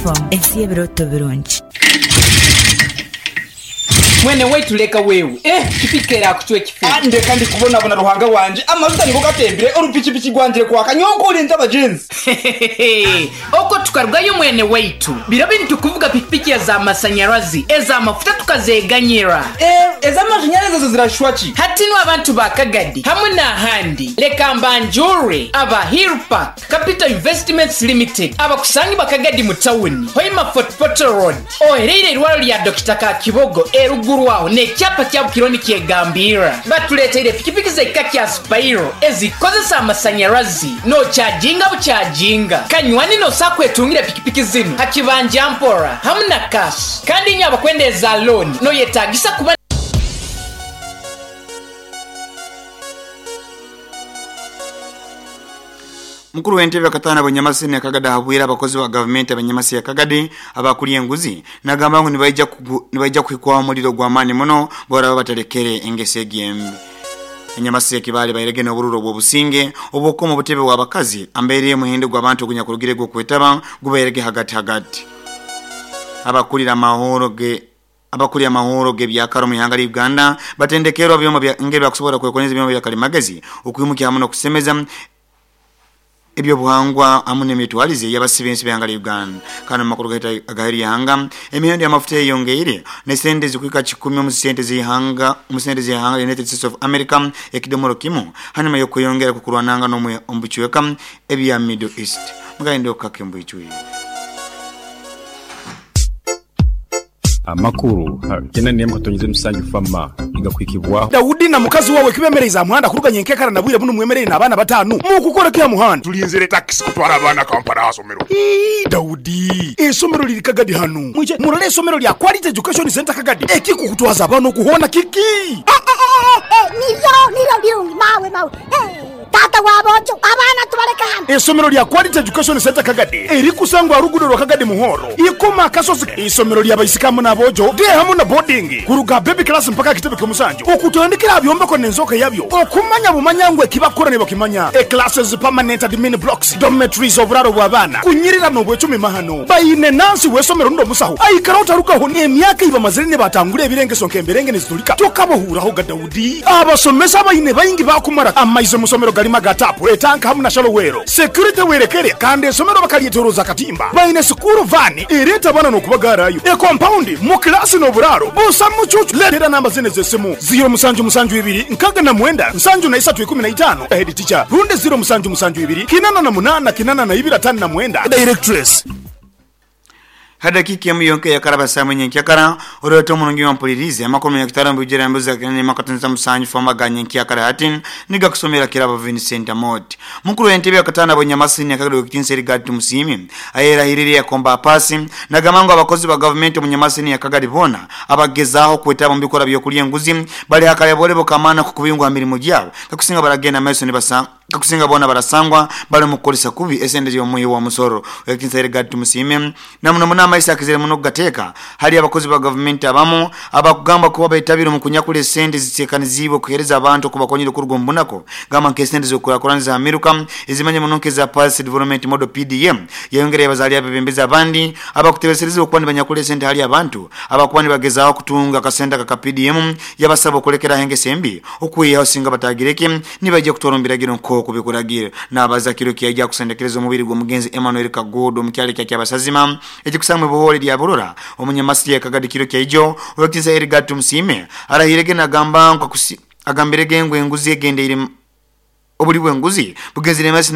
Fm, ensi y'ebirooto birungi. Mwene waitu leka wewe, eh pikipiki erakucwa ekifu. Ah, ndeka ndi kubonabona Ruhanga wangye, amajuta nigo gatembire, orupikipiki rwangire kwaka, nyowe nkorinze abagyenzi. Hehehehe, okwo tukarugayo mwene waitu. Biro binu tukuvuga pikipiki eza masanyarazi, eza mafuta tukazeganyira. Eh, ez'amashanyarazi ezo zirashusha ki? Hati nu abantu ba Kagadi hamwe n'ahandi, leka mbanjure aba Hill Park Capital Investments Limited abakusangibwa Kagadi mu tawuni, Hoima Fort Portal Road. Ohereire eirwaro lya Dokita Kakibogo eruguru aho n'ekyapa kya Bukiro nikyegambirra. Batuleteire pikipiki z'ekika kya Spiro ezikukozesa amasanyarazi n'okyajinga bukyajinga. Kanywani n'osobola kwetungira pikipiki zinu ha kibanja mpora hamu na cash. Kandi inywe abakwenda eza looni noyetagisa kuba. Mukuru w'entebe akataana Bunyamasi ne Kagadi ahabwire abakozi ba gavumenti ab'Enyamasi ya Kagadi abakulya enguzi nagamba ngu nibaija nibaija kuhikwaho omuriro gw'amaani muno bwaraba batarekere engeso egi embi. Enyamasi ya Kibaale bairege n'obururu obw'obusinge obw'okukoma obutebe bw'abakazi ambeire y'omuhendo gw'abantu ogunyakurugire gw'okwetaba gubairege hagati hagati. Abakurira amahoro ge Abakuria amahoro g'ebyakare omu ihanga lya Uganda batendekerwe abyoma bya engeri bakusobora kwekonyeza ebyoma bya kalimagezi okwimukya hamu n'okusemeza eby'obuhangwa hamu n'emitwarize y'abasiba ensi b'ihanga lya Uganda. Kandi omu makuru gaitu agaheru y'ihanga, emihendo y'amafuta eyeyongeire n'esente ezikuhika kikumi omu sente z'ihanga omu sente z'ihanga lya United States of America ekidomoro kimu hanyuma y'okweyongera kw'okurwanangana omu bicweka ebya Middle East. Mugayende okukake mbwijwire. Amakuru kyenda n'emwe katonyeza emisanju FAMA nigakuhikibwaho. Daudi na mukazi wawe kibemereize aha muhanda kuruga nyenkekara na bwire bunu mwemereire n'abaana batanu mukukora ki aha muhanda? Tulinzire takisi kutwara abaana Kampala aha somero. Ii, Daudi, eisomero liri Kagadi hanu. Mwije murole eisomero lya Quality Education Centre Kagadi. Ekikukutwaza abaana oku hoona kiki? Niryo, niryo birungi mawe, mawe. Taata wa boojo, abaana tubaleke hanu. Eisomero lya Quality Education Centre Kagadi erikusangwa aha ruguudo rwa Kagadi Muhoro, Ikoma Akasozi. Eisomero lya baisiki hamu n'aboojo, day hamu na boarding, kuruga aha baby class mpaka aha kitebe ky'omusanju, okutandikira aha byombeko n'enzooka yabyo, okumanya bumanya ngu eki bakukora nibakimanya. E-classes, permanent admin blocks, dormitories, oburaaro bw'abaana, kunyirira n'obwecumi mahano. Baine nansi w'eisomero rundi omusaho aikara otarugaho n'emyaka ei bamazire nibatangura ebirengeso nk'emberenge niziturika tokabahuuraho ga Daudi. Abasomesa abaine baingi baakumara amaizi omu somero garimu aga taapu, etanka hamu na shallow well. Security werekere kandi esomero bakaryetoroza akatimba. Baine sikuuru vaani ereeta abaana n'okubagaarayo. Ekompaundi, mu kilaasi n'oburaaro busa mucuucu. Leetera namba zinu ez'esimu, ziiro musanju musanju ibiri nkaga na mwenda nsanju na isatu ikumi na itaano, Head teacher, rundi ziiro musanju musanju ibiri kinana na munaana kinana na ibiri atano na mwenda, Directress. Ha dakiika emu yonka eyakaraba saawa nyenkyakara, oreete omurungi ompulirize amakuru munyakitara omu bwijwire embuzi za kinana emu musanju foma ga nyenkyakara hati nigakusomera Kirabo Vincent Amooti. Mukuru w'entebe yakataano Abonyamasini Nyakagadi Owekitiinisa Erigard Tumusiime ayerahirire yakomba apaasi nagamba ngu abakozi ba gavumenti omu Nyamasini Nyakagadi boona abakugezaaho kwetaba omu bikorwa by'okurya enguzi bari hakareborebo k'amaani ak'okubingwa aha mirimo gyabo kakusinga baragenda maiso nibasa Kakusinga boona barasangwa bari omu kukoresa kubi esente z'omuhi w'omusoro. Ow'ekitiinisa Erigard Tumusiime na muno muno amaiso akizire muno kugateeka hali abakozi ba gavumenti abamu abakugambwa kuba betabire omu kunyakura esente eziteekaniziibwe kuheereza abantu okubakonyera okuruga omu bunaku gamba nk'esente z'okukurakuraniza aha miruka ezimanyire muno nk'eza Pulse Development Model, PDM. Yayongera yabaza hali abebembezi abandi abakutebeserezibwa okuba nibanyakura esente hali abantu abakuba nibagezaaho kutunga akasente aka ka PDM yabasaba okulekeraho engeso embi okwihaho singa batagireki Nibaija kutwara omu biragiro nk'oku bikuragiire. Naabaza kiro eki yaija kusendekereza omubiri gw'omugenzi Emmanuel Kaguudu omu kyaro ekya Kyabasazima ekikusangwa Ibohoori rya Burora omu Nyamasiri ya Kagadi kiro kya ijo. Ow'ekitiinisa Edgar Tumusiime arahiirege nagamba ngu agambirege ngu enguzi egendeire obuli bw'enguzi bugenzire maiso.